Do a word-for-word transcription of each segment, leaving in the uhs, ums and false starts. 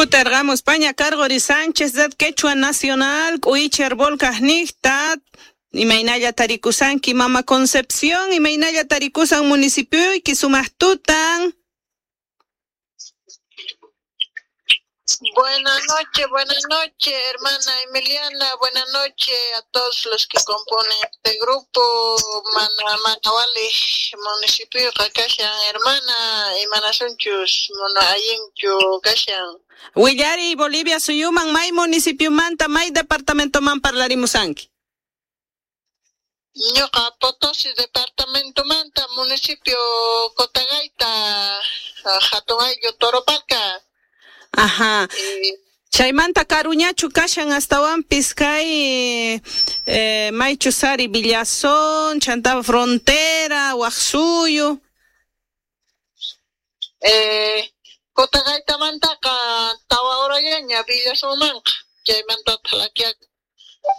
Kutarqamus Paña Cargori Sánchez Red Quechua Nacional K'uicher Volcajnijta imaynalla tarikusanki Mama Concepción, imaynalla tarikusan municipioyki sumaqtutan. Buenas noches, buenas noches, hermana Emiliana, buenas noches a todos los que componen este grupo, Mana Manawali, municipio Kashan, hermana, Imanasunchus, Monayinchu, Kashan. Willari, Bolivia, suyuman, may municipio manta, may departamento man parlarimusanki. Ñuqa Potosí departamento manta, municipio Cotagaita, hatun ayllu Toropalca. Ajá. Chaymanta karuñachu kashan astawanpis kay eh, maychusari Villazón, chanta frontera, waq suyu. Eh, Cotagaitamantaqa tawa horallaña Villazonmanqa, chaymanta thlakiak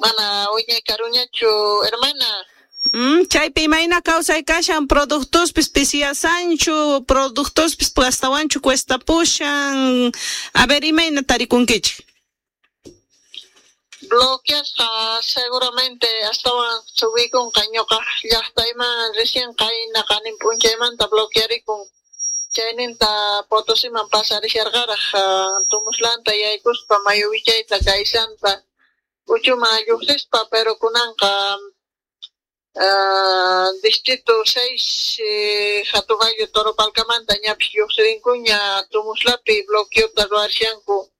mana wiñay karuñachu, hermana. Mm, chaypi imayna kawsay kashan productospis pisiyasanchu, productospis astawanchu cuestapushan. A ver, imayna tarikunkichik. Bloqueasqa seguramente astawan subikunqa ñuqa llaqtayman recién qayna qanin p'unchaymanta bloquearikun. Chayninta Potosiman pasarisharqaraq Tumuslanta yaykuspa mayu wichayta kaysanta uchuman lluqsispa, pero kunanqa Uh, distrito seis eh, hatun ayllu Toropalcamanta ñapis lluqsirinkuña Tumuslapi bloqueota ruwarishanku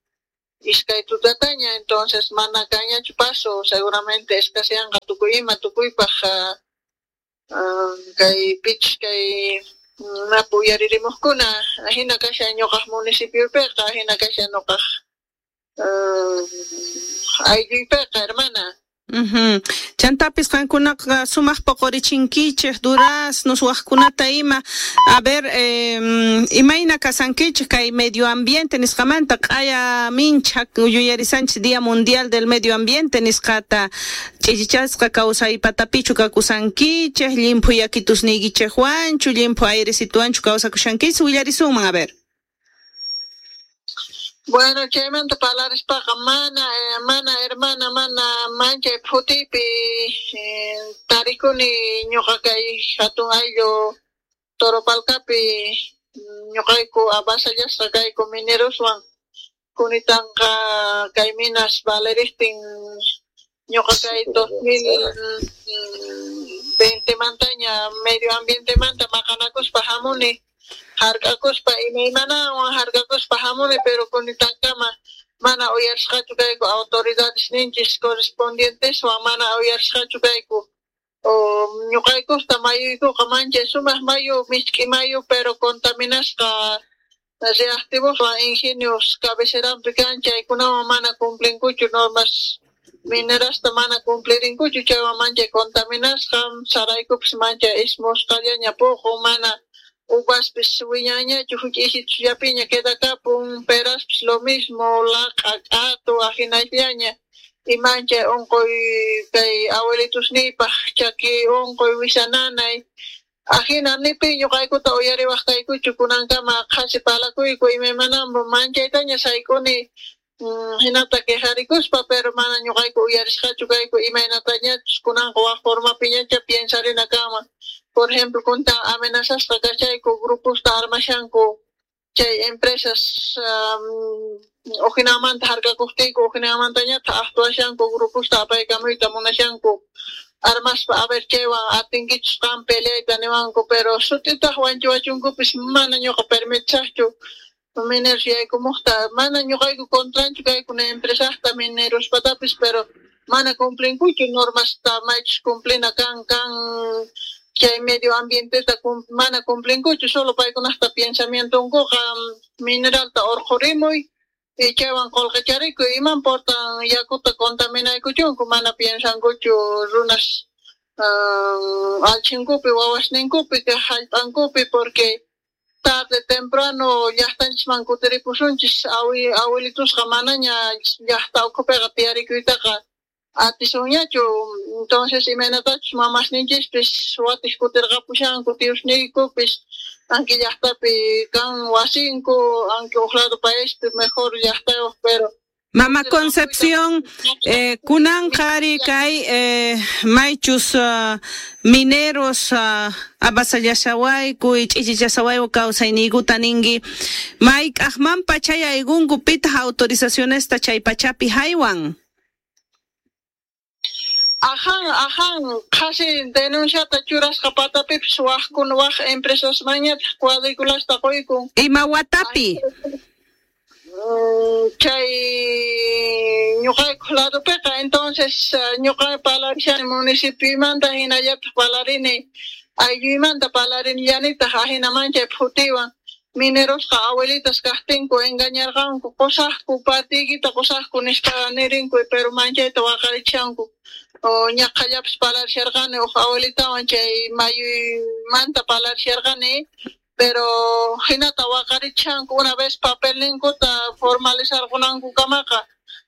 iskay tutataña, entonces mana kanñachu paso, seguramente escaseanqa tukuy ima tukuypaq uh, uh, kay pich kay mapu uyaririmuqkuna ajina kashan ñuqaq municipiopiqa, ajina kashan ñuqaq uh, aylluypiqa, hermana. Uh-huh. Chantapis qankunaqa sumaq poqorichinkichik duraznos waqkunata ima. A ver, eh, imayna kasankichik kay medio ambiente nisqamanta q'aya mincha yuyarisanchik Día Mundial del Medio Ambiente nisqata ch'ichichasqa kawsaypatapichu kakusankichik, llimphu yakitusniykichikwanchu, llimphu airesituwanchu kawsakushankichik, willarisunman, a ver. Bueno, chaymanta parlarispaqa mana, eh, mana hermana, mana manchay phutipi eh, tarikuni ñuqa kay hatun ayllu Toropalcapi ñuqayku avasallasqa kayku mineroswan kunitanqa kay minas valeristin ñuqa kay dos mil veinte mantaña medio ambiente manta maqanakuspa hamuni hark'akuspa imaymanawan hark'akuspa hamuni, pero kunitankama mana uyarisqachu kayku autoridades ninchis correspondienteswan mana uyarisqachu kayku. O ñuqaykusta mayuykuqa manchay sumaq mayu misk'i mayu, pero contaminasqa reactivoswan ingenios cabeceranpi kan chaykunawan mana cumplinkuchu normas minerasta mana cumplirinkuchu, chaywan manchay contaminasqa saraykupis manchay ismusqallaña puqun, mana uvaspis wiñañachu huch'isichullapiña quedakapun, peraspis lo mismo, laq'a k'atu ajinallaña y manchay unquy kay abuelitusniypaq chaki unquy wisananay ajina nipi ñuqaykuta uyariwaq kaykuchu kunankama qhasi palakuyku imaymanampu manchaytaña sayk'uni hinata quejarikuspa, pero mana ñuqayku uyarisqachu kayku imaynatañachus kunanqa waq formapiñacha piensarina kanman. Por ejemplo, kuntan amenazasqa kachayku gruposta armashanku chay empresas um, ujinamanta harkakuqtinku ujinamantañataq actuashanku gruposta apaykamuyta munashanku armaspa, a ver chaywan atinkichus qan peleayta niwanku, pero sut'itaq wanchiwachunkupis mana ñuqa permitisaqchu mineros yaykumuqta, mana ñuqayku contranchu kayku ni empresasta minerospatapis, pero mana cumplinkuchu normasta maychus cumplina kan kan chay medio ambienteta cum, mana cumplinkuchu, solo paykunaqta pensamientonkuqa mineralta urqhurimuy y chaywan qullqicharikuy, iman portan yakuta contaminaykuchunku, mana piensankuchu runas uh, allchinkupi wawasninkupi hallp'ankupi, porque tarde temprano llaqtanchisman kutiripusunchis awi abuelitusqa manaña llaqta ukhupiqa tiyarikuytaqa atisunñachu, entonces imaynatachus mamasninchispis watiq kutirqapushanku tiyusniykupis Anki llaqtapi kan wasinku, anki uj lado paispi mejor llaqtayuq, pero Mama Concepción, eh, kunan qhari kay eh, maychus uh, mineros uh, avasallashawayku ch'ichichashawayku kawsayniykuta ninki mayk'aqmanpa chay aykunku pitaq autorizacionesta chay pachapi haywan. Ajan, ajan, qhasi denunciata churasqa patapipis wajkuna waj empresasmanñataq cuadriculasta quykun. Ima watapi? Chay ñuqaykuq ladopiqa, entonces ñuqa parlarishani municipiomanta hinallataq parlarini aylluymanta parlarinillanitaq ajinaman chay phutiwan minerosqa abuelitas kaqtinku engañarqanku qusaqku partiykita qusaqku nispa nirinku, pero manchayta waqarichanku. O ñaqhallapis parlarisharqani uj abuelitawan chay mayuymanta parlarisharqani, pero hinata waqarichanku una vez papelninkuta formalizarqunankukamaqa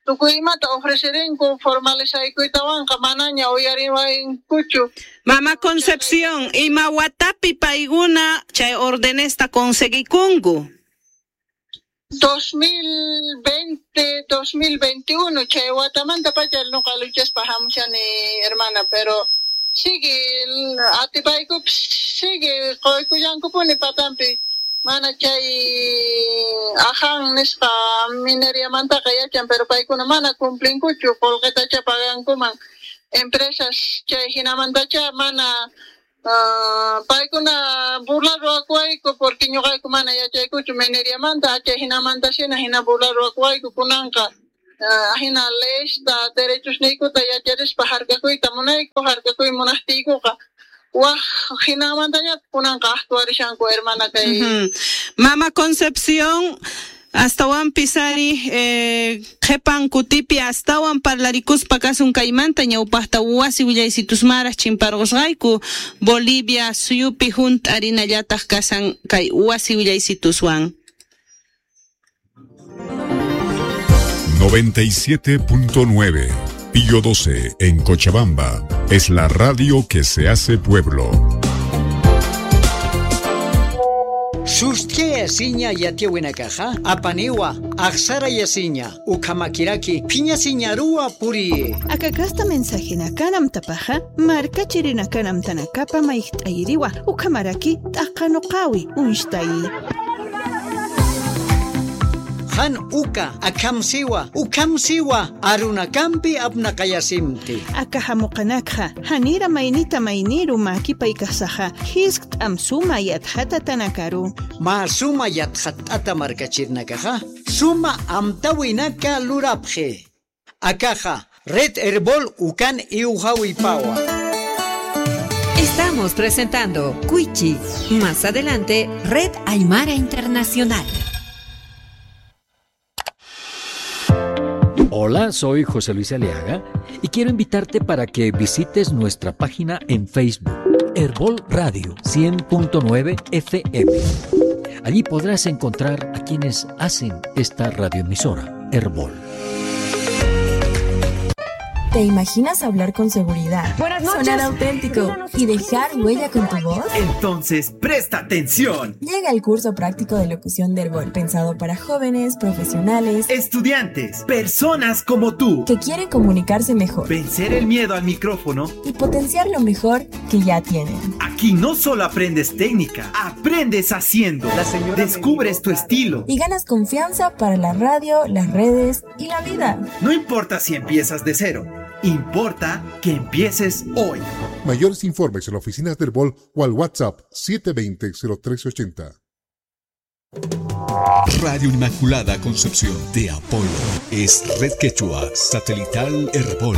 tukuy imata ofrecerinku formalizaykuytawanqa manaña uyariwankuchu. Mama Concepción, ima watapi paykuna chay ordenesta conseguikunku? dos mil veinte, dos mil veintiuno chay watamanta pacha nuqa luchaspa hamushani hermana, pero sigue atipaykupis sigue quykullankupuni patampi mana chay ajan nisqa mineriamantaqa yachan, pero paykuna mana cumplinkuchu qullqitacha pagankuman empresas chay hinamantacha mana uh, paykuna burla ruwakuwayku porque ñuqayku mana yachaykuchu mineriamanta chay hinamanta shina hina burla ruwakuwayku kunanqa uh, hina leysta derechosniykuta yacharispa harkakuyta munayku harkakuy munaqtiykuqa waj hinamantañataq kunanqa actuarishanku hermana kay. Uh-huh. Mama Concepción, astawanpis ari eh, qhipan kutipi astawan parlarikuspa kasun kaymanta ñawpaqta wasi willaysitusmaraq chimparqusqayku Bolivia suyupi hunt'arinallataq kasan kay wasi willaysituswan. noventa y siete punto nueve Pío doce en Cochabamba es la radio que se hace pueblo. Sustia yasiña yatiwinakaja, apaniwa, aksara yasiña, ukamakiraki, piñasiñarua puri. Akakasta mensaje nakanam tapaja, marka chirinakanam tanakapa maihtayiriwa, ukamaraki, takanokawi, unshtayi. Han uka, akamsiwa, ukamsiwa, arunakampi apnakayasimti. Akahamukanakja, hanira mainita mainiru makipaikasaja, hiskt amsuma yathata tanakaru. Ma suma yathatata markachirnakaja, suma amtawinaka lurapje. Akaja, red herbol ukan iujawipawa. Estamos presentando Cuichi. Más adelante, Red Aymara Internacional. Hola, soy José Luis Aliaga y quiero invitarte para que visites nuestra página en Facebook, Herbol Radio cien punto nueve F M. Allí podrás encontrar a quienes hacen esta radioemisora, Herbol. ¿Te imaginas hablar con seguridad? Buenas noches. Sonar auténtico y dejar huella con tu voz? Entonces, presta atención. Llega el curso práctico de locución de Herbol, pensado para jóvenes, profesionales, estudiantes, personas como tú que quieren comunicarse mejor, vencer el miedo al micrófono y potenciar lo mejor que ya tienen. Aquí no solo aprendes técnica, aprendes haciendo. La señora Descubres tu estilo y ganas confianza para la radio, las redes y la vida. No importa si empiezas de cero. Importa que empieces hoy. Mayores informes en la oficina del Herbol o al WhatsApp siete veinte cero tres ochenta. Radio Inmaculada Concepción de Apolo es Red Quechua Satelital Herbol.